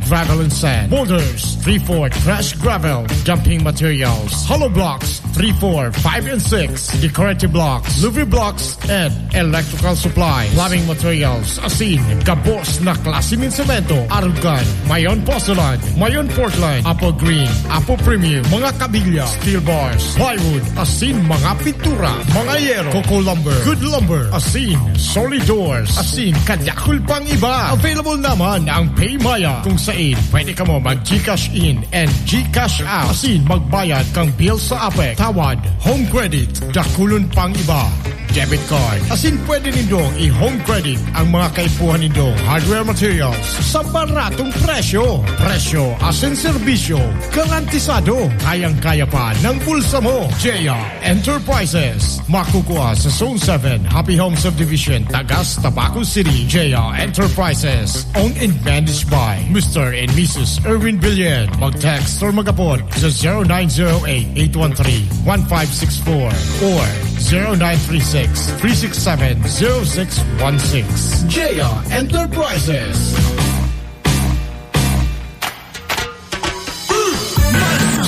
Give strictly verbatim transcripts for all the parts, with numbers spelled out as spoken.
Gravel and sand. Boulders, three four, trash gravel, dumping materials, hollow blocks, three four, five and six, decorative blocks, louvre blocks, and electrical supply. Plumbing materials, asin gabos na klase nin semento, arog kan, mayon porcelain, mayon Portland, apple green, apple premium, mga kabilya, steel bars, plywood, asin mga pintura, mga yero, coco lumber, good lumber, asin solid doors, asin kadakul pang iba. Available naman ang PayMaya, kung sain pwede kamo mag-GCash in and GCash out, asin magbayad kang bill sa APEC, tawad, home credit, dakulon pang iba, debit card. Asin pwede nindong i-home credit ang mga kaipuhan nindong hardware materials sa baratong presyo. Presyo asin serbisyo garantisado. Kayang-kaya pa ng bulsa mo. J R Enterprises. Makukua sa Zone seven, Happy Home Subdivision, Tagas, Tabaco City. J R Enterprises. Owned and managed by Mister and Missus Erwin Billion. Mag-text or mag-apod sa zero nine zero eight, eight one three, one five six four or zero nine three six, three six seven, zero six one six. J R Enterprises.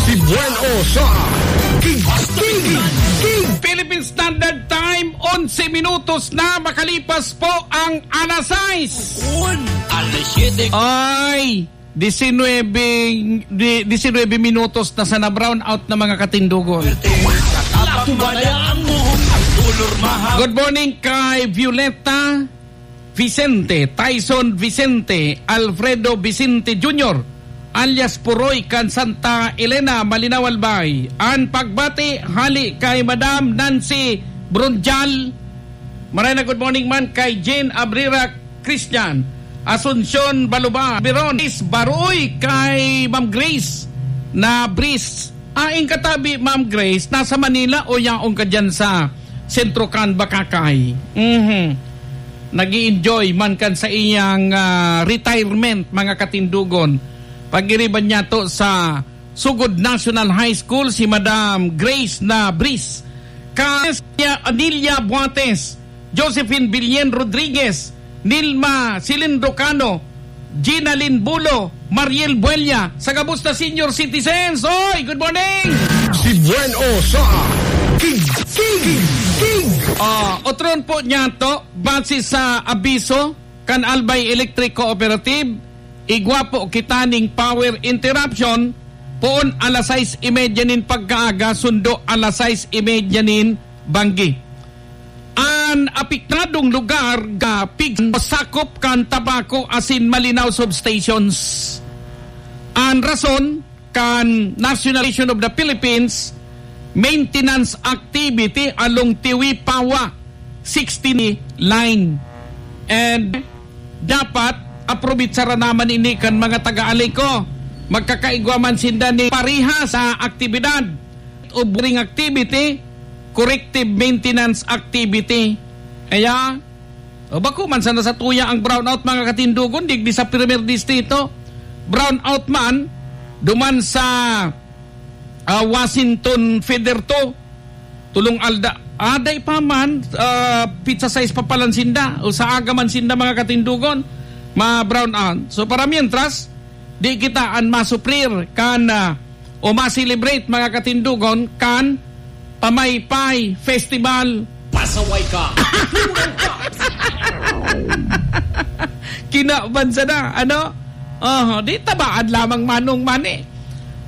Si Buen O sa King, King, King. Philippine Standard Time, onse minutos na makalipas po ang alas sais. Alas siyete. Ay, disinwebe, di, disinwebe minutos na sana, brown out na, mga katindogon. Latumaya ang muhong, ang kolor mahaba. Good morning kay Violeta Vicente, Tyson Vicente, Alfredo Vicente Junior, alias Puroy, kan Santa Elena, Malinao, Albay. An pagbati hali kay Madam Nancy Bronjal. Maray na good morning man kay Jane Abrera Christian, Asuncion Baluba, Biron, is Baroy kay Ma'am Grace na Bris. Ain katabi, Ma'am Grace, nasa Manila o yaon ka dyan sa Sentro kan Bacacay? Mhm. Nag-i-enjoy man kan sa iyang, ah, retirement, mga katindogon. Pag-iriban niya to sa Sugod National High School, si Madam Grace na Bris. Ka-, Anilia Buates, Josephine Billion Rodriguez, Nilma Cilindro Cano, Gina Lynn Bulo, Mariel Buella, sa gabos na senior citizens. Oy, good morning! Si Buen O sa King, King, King. Ah, otron po niya to, base sa abiso kan Albay Electric Cooperative, igwa po kita ning power interruption, poon alas sais y media nin pagkaaga, sundo alas sais y media nin banggi. An apektadong lugar ga pig-, sakop kan Tabaco asin Malinao substations. An rason kan National Association of the Philippines, maintenance activity along Tiwi Pawa sixteen line. And dapat aprobitsara naman ini kan mga taga-Aleco. Magkakaigwa man sinda ni pareha sa aktibidad o boring activity, corrective maintenance activity. Kaya, o, bako man sana satuya ang brownout, mga katindogon, digdi sa Primer Distrito. Brownout man, duman sa, ah, Washington Feeder two, tulong alda. Aday pa man, ah, pizza size pa palan sinda, o sa aga man sinda, mga katindogon, ma-brownout. So, para mientras, di kita an masuprir kan, ah, o ma-celebrate, mga katindogon, kan Pamaypay Festival. Pasaway ka! Kinaban sana, ano? Oho, di tabaan lamang manong mani.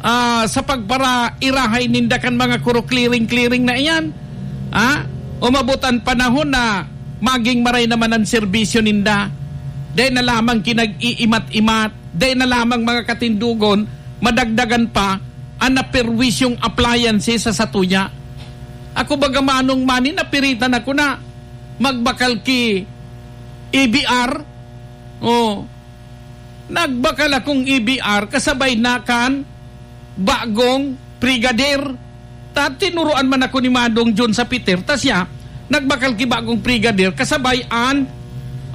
Ah, sa pagparairahay ninda kan mga kuro clearing-clearing na iyan. Ha? Umabot an panahon na maging maray naman an serbisyo ninda. Dai na lamang kinag-iimat-imat, dai na lamang mga katindogon, madagdagan pa an naperwisyong appliances sa satuya. Ako baga manong mani, napiritan ako na magbakal ki E B R. Oh, nagbakal akong E B R kasabay na kan bagong brigadier. Ta tinuruan man ako ni Manong John sa Peter, ta siya nagbakal ki bagong brigadier kasabay an,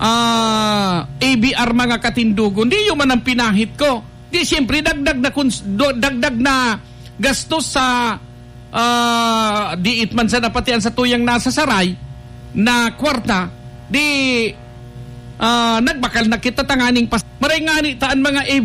ah, E B R, mga katindogon. Di yun man ang pinahit ko. Di, siyempre, dagdag na kuns-, do-, dagdag na gastos sa, ah, diit man sana pati an satuyang nasa saray na kwarta. Di, ah, nagbakal na kita tanganing pas-, maray ngani ta an mga